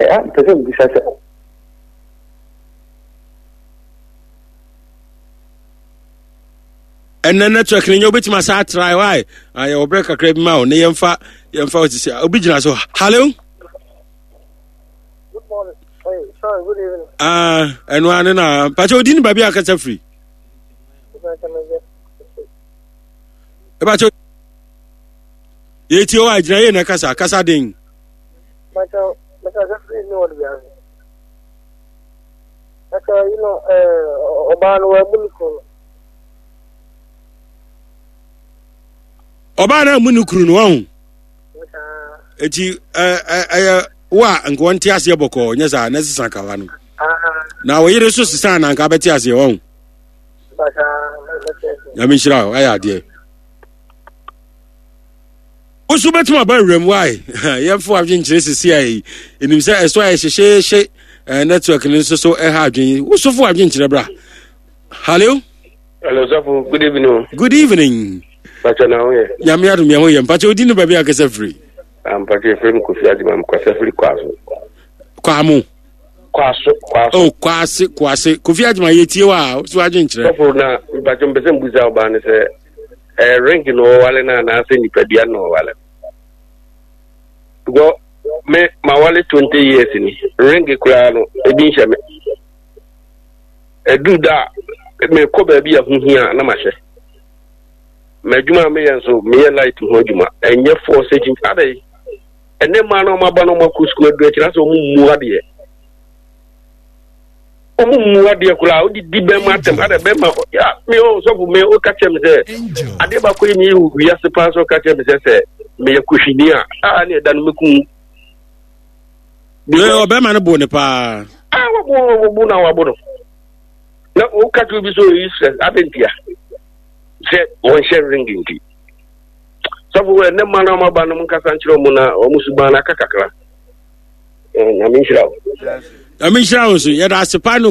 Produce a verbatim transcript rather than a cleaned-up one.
Mepɛ sɛ mebisa sɛ. Ɛnɛ network no nyɛ, wobɛtumi asa atrae wae. Yɛwɔ berɛ kakra bi ma wo ne yɛmfa yɛmfa wo sisi. Obi gyina so. Hallo. Ɛno ane na mpakyɛ wodi ne baabi a akasa firi. Ɛbakyɛ yɛtie wo a, gyina yie na kasa kasa den. Ɔbaa no wamu ne kunu. Ɔbaa no amu ne kunu no wahu. Eti ɛyɛ wo a nka wɔnte aseɛ bɔkɔɔ, nyɛ saa na sesa kawa no na wo yere so sesa na nka bɛte aseɛ wahu. Nyame nhyira wo, ayɛ adeɛ. Wo so bɛtumi aba awuram wae. Yɛmfa adwenkyerɛ sisi a yi ɛnim sɛ ɛso ayɛ hyehyeehye. eh, network no nso so ɛha adwen. Wo so fo adwenkyerɛ bra. Hallo. Hello, Safo. Good evening. Good evening. Mpakyɛ na ho yɛ? Nyame adom yɛ ho yɛ. Mpakyɛ wodi no baabi akasa firi? Mpakyɛ efiri mu Kofi Adwuma, mkasa firi Kwaso. Kwamo. Kwaso, Kwaso. Oh, Kwase, Kwase. Kofi Adwuma, yɛtie wa a, so adwenkyerɛ. Safo, na mpakyɛ mpɛ sɛ mbusa ɔbaa no sɛ ɛyɛ ring na ɔwale no anaasɛ nipadua na ɔwale no? Because me mawale twenty years ni, ring koraa no ebi nhyɛ me. Ɛduru da a mekɔ baabi a ho hia na mahyɛ. M'adwuma a meyɛ nso, meyɛ light ho adwuma, ɛnyɛ force akyi adɛ. Ɛnɛ mmaa no ɔmo aba no, ɔmo akɔ sukuu aduru akyerɛ sɛ ɔmo mmu adeɛ, ɔmo mmu adeɛ koraa. Wode di bɛrima atɛm adɛ bɛrima ya me ɔ sɔfo me woka kyerɛ me sɛ adeɛ baako yi meyɛ wɔ wiase paa sɛ ɔka kyerɛ me sɛ sɛ meyɛ kohwini a a ne ɛda no mɛku. Ɔbɛrima no bo ne paa. Ah, wabo wabo na wabo no na woka kyerɛ obi sɛ ɔyɛ useless adɛ ntia sɛ wɔnhyɛ ring nti. Sɔfo, ɛnɛ mma no ɔmaba no, monkasa nkyerɛ ɔmo na ɔmo suban no aka kakra. Nyame nhyira wo. Nyame nhyira wo nso. Yɛda ase paa no.